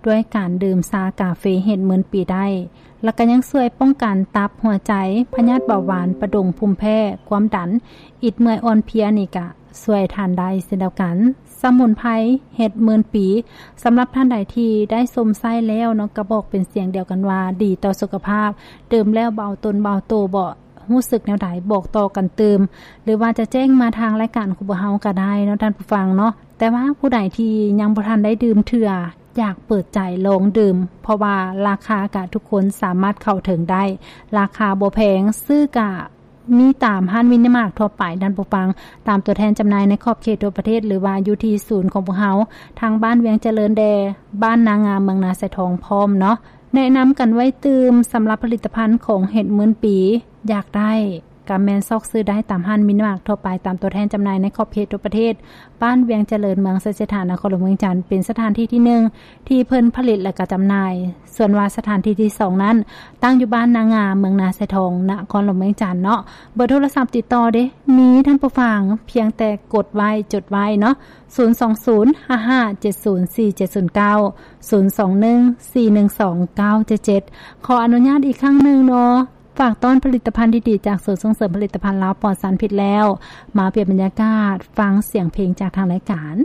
ດ້ວຍການດື່ມຊາກາເຟເຫັດໝື່ນປີໄດ້ ແລ້ວກໍຍັງຊ່ວຍປ້ອງກັນຕັບ, ຫົວໃຈ, ພະຍາດເບົາຫວານ, ປະດົງ, ພູມແພ້, ຄວາມດັນ, ອິດເມື່ອຍອ່ອນເພຍນີ້ກະຊ່ວຍທ່ານໄດ້ເຊັ່ນດຽວກັນ. ສະໝຸນໄພເຫັດໝື່ນປີ ສຳລັບທ່ານໃດທີ່ໄດ້ຊົມໃຊ້ແລ້ວເນາະ ກໍບອກເປັນສຽງດຽວກັນວ່າ ດີຕໍ່ສຸຂະພາບ, ດື່ມແລ້ວເບົາຕົນເບົາໂຕບໍ? ຮູ້ສຶກແນວໃດ ບອກຕໍ່ກັນຕື່ມ ຫຼືວ່າຈະແຈ້ງມາທາງລາຍການຂອງພວກເຮົາກໍໄດ້ເນາະທ່ານຜູ້ຟັງເນາະ. ແຕ່ວ່າຜູ້ໃດທີ່ຍັງບໍ່ທັນໄດ້ດື່ມເທື່ອ ຢາກເປີດໃຈລອງດື່ມ ເພາະວ່າລາຄາກະທຸກຄົນສາມາດເຂົ້າເຖິງໄດ້ ລາຄາບໍ່ແພງ ຊື້ກະມີຕາມຮ້ານມິນິມາດທົ່ວໄປທ່ານຜູ້ຟັງ ຕາມຕົວແທນຈຳໜ່າຍໃນຂອບເຂດທົ່ວປະເທດ ຫຼືວ່າຢູ່ທີ່ສູນຂອງພວກເຮົາ ທາງບ້ານວຽງຈະເລີນແດ່ ບ້ານນາງາມ ເມືອງນາຊາຍທອງພ້ອມເນາະ. ແນະນຳກັນໄວ້ຕື່ມ ສຳລັບຜະລິດຕະພັນຂອງເຫັດໝື່ນປີ ຢາກໄດ້ ກໍແມ່ນຊອກຊື້ໄດ້ຕາມຮ້ານມິນິມາດທົ່ວໄປ ຕາມຕົວແທນຈຳໜ່າຍໃນຂອບເຂດທົ່ວປະເທດ ບ້ານວຽງຈະເລີນ ເມືອງໄຊເສດຖາ ນະຄອນຫຼວງວຽງຈັນ ເປັນສະຖານທີ່ທີໜຶ່ງ ທີ່ເພິ່ນຜະລິດ ແລະ ກະຈຳໜ່າຍ. ສ່ວນວ່າສະຖານທີ່ທີສອງນັ້ນ ຕັ້ງຢູ່ບ້ານນາງາມ ເມືອງນາຊາຍທອງ ນະຄອນຫຼວງວຽງຈັນເນາະ. ເບີໂທລະສັບຕິດຕໍ່ເດ້ ມີທ່ານຜູ້ຟັງ ພຽງແຕ່ກົດໄວ້ ຈົດໄວ້ເນາະ ສູນສອງສູນ ຫ້າຫ້າເຈັດສູນ ສີ່ເຈັດສູນເກົ້າ ສູນສອງໜຶ່ງ ສີ່ໜຶ່ງສອງ ເກົ້າເຈັດເຈັດ. ຂໍອະນຸຍາດອີກຄັ້ງໜຶ່ງເນາະ ຝາກຕ້ອນຜະລິດຕະພັນດີໆ ຈາກສູນສົ່ງເສີມຜະລິດຕະພັນລາວປອດສານພິດແລ້ວ ມາປ່ຽນບັນຍາກາດ ຟັງສຽງເພງຈາກທາງລາຍການ.